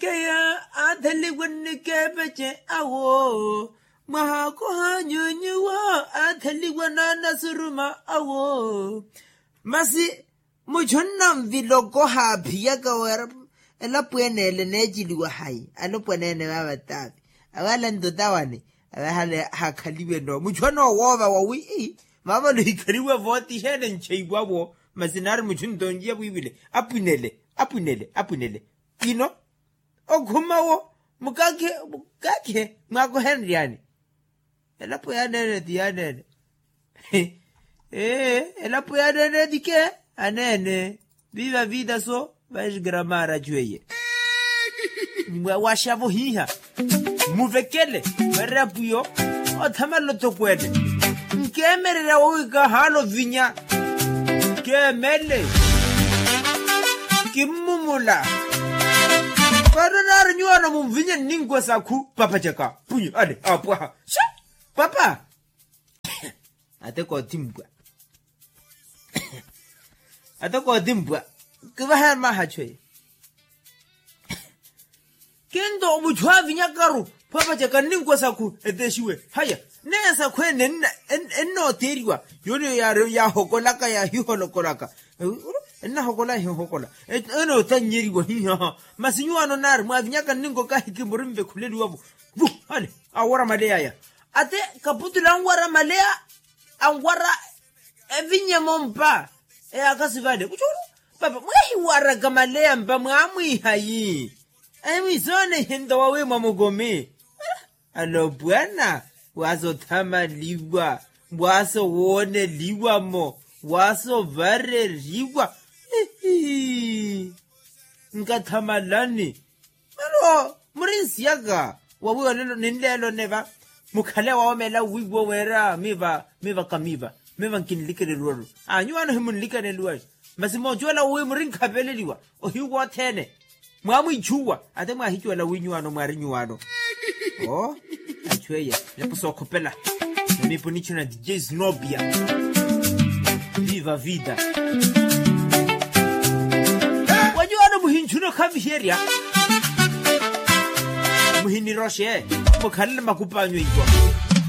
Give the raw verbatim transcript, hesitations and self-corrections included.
Keya aatheliwa nnikeepece awo, mwaha koha nyunyuwo aatheliwa n'anasuruma awo. Masi muchu onnanvila okoha aphiyaka wira elapo ene ele neeciliwa hayi alopwanene vaava taavi. Awe ala ntotawani, awe ahale hakhaliwe no muchu anowoova wawi. Vaavale ohikhaliwe vooti heene ncheiwavo. Masi naari muchu ntonjiya vwiivile apwinele apwinele apwinele. Kino okhuma wo mukakhe mukakhe mwakohenryani. Elapo yaneene ti yaneene. Ee, elapo yaneene ti ke aneene. Viva vida so vaisgramara chweye. Mwawaxavo hiha muvekele. Varapwiyo othamala otokwene. Nkeemererya wowika haala ovinya. Kemele kimmumula. Kano naari nyuwano munvinya nninkwa sakhu papacaka. Punyu ale apwaha. Papa. Ate kootimpwa. Ate kootimpwa. Kivaha mahachu eye. Kinto muchu avinyakaru papacaka nninkwa sakhu etexiwe haya. Neye sakhu ene ennooteeriwa yooniyo yaahokolaka yaahiholokolaka. Ennahokola ehihokola enootannyeriwa hihaha. Masi nyuwaano naari mwaavinyaka nninko kaahikimpa orinvekhuleliwavo. Vu ale awara maleya aya. Ate kaputula anwara maleya anwara evinyemo mpa. Eyaakasi vale kuchulu papa mweehiwaraka maleya mpa mwaamwiihayi. Emwisoone ihinto wawi mwamukomi. Alopwana waaso othamaliwa waaso wooneliwa-mo waaso ovareriwa. Nkathamalani. Mano muri nsiyaka wawiwa ninleelo neva. Mukhale wawoomela wiiwo wira miva miva kamiva miva nkinlikeneluwaru. Anyu wano himunlikeneluwaru. Masi moocuwela wi muri nkhaveleliwa ohiwa othene. Mwaamwiichuwa ate mwaahicuwela wi nyuwano mwaari nyuwano. Oo. Achu eye nepo sookhopela. Namiipo nichuna dj snobia. Viva vida. Wanyu wano muhinchuna okhaviherya. Muhiniroxe mukhalele makupa anyu iwo.